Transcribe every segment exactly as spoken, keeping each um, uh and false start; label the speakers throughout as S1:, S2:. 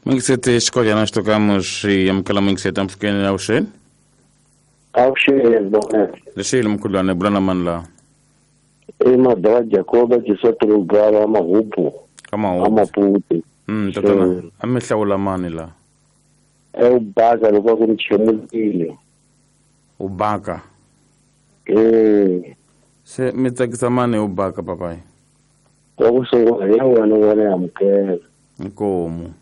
S1: Mingisete xikolya nós tocamos e amukela mingisete amfukeni avuxeni.
S2: Avuxeni bona.
S1: Lexile mkhulwane bulana mani la.
S2: I madala Jacoba Gisotro Mahupu.
S1: Kama
S2: Amaputi.
S1: Mm tatana a mi hlawula mani la.
S2: E u baka loko ku nchemukile.
S1: U baka.
S2: Eh.
S1: Se mi tsakisa mani u baka papai.
S2: Wa ku sungula ya wena wena amukela.
S1: Inkomu.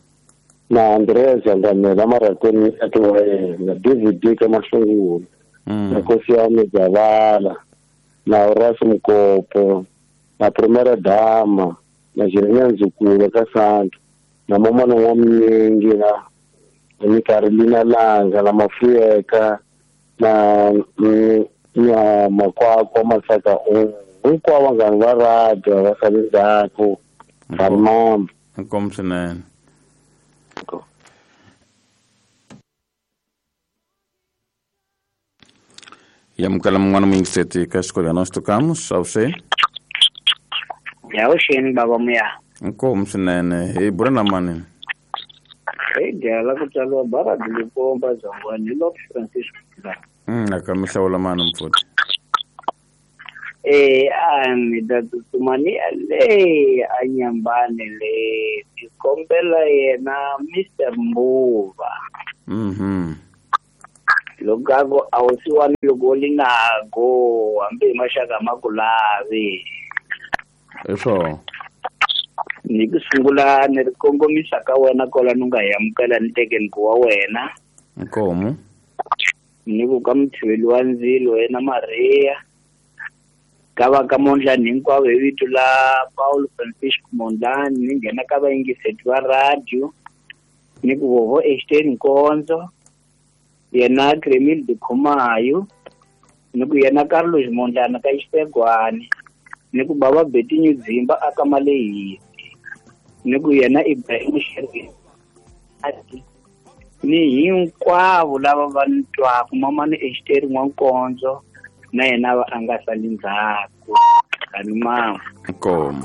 S2: Na Andreas Andamela marakoni atiwa na David D ka Mahlungulu. Na Nkosi ya Mijavala. Na Horace Mkopo, na Primera Dama, na Jeremia Nzukulu ka Santo, na Momana wa Mnyingi, na Carolina Langa, na Mafueka, na na Makwakwa Masaka, hinkwavo vanghana va radio va sale ndzhaku, va
S1: Inkomu swinene. Yamukela mun'wana muyingiseti ka xikolya nós tocamos avuxeni.
S3: Avuxeni baba muya.
S1: Inkomu swinene hi bula na mani.
S3: Hi dya la ku tswariwa Baradi Likomba Zangwani hi Lord Francisco.
S1: Mm aka mi hlawula mani mfuti.
S3: Eh a mi ta tsutsuma ni le a Nyambane le ni kombela yena Mister Mbuva.
S1: Mhm.
S3: Loko a wu siwani loko li nago hambi hi maxaka ma ku lavi.
S1: Hi swona.
S3: Ni ku sungula ni ri kongomisa ka wena kwala ni nga hi amukela ni tekeni ku wa wena.
S1: Inkomu.
S3: Ni ku ka muthiveli wa ndzilo yena Maria. Ka va ka Mondlani hinkwavo hi vito la Paul Francisco Mondlani ni nghena ka vayingiseti va radio. Ni ku vovo Einstein Nkonzo. Yena Kremil de Khumayo, ni ku yena Carlos Mondlana ka Xipegwani, ni ku baba Betinho Dzimba aka Malehisi, ni ku yena Ibrahim Sherif, ni hinkwavo lava va ni twaku mamani Einstein N'wankonzo na yena va a nga sali ndzhaku. Kani mama.
S1: Inkomu.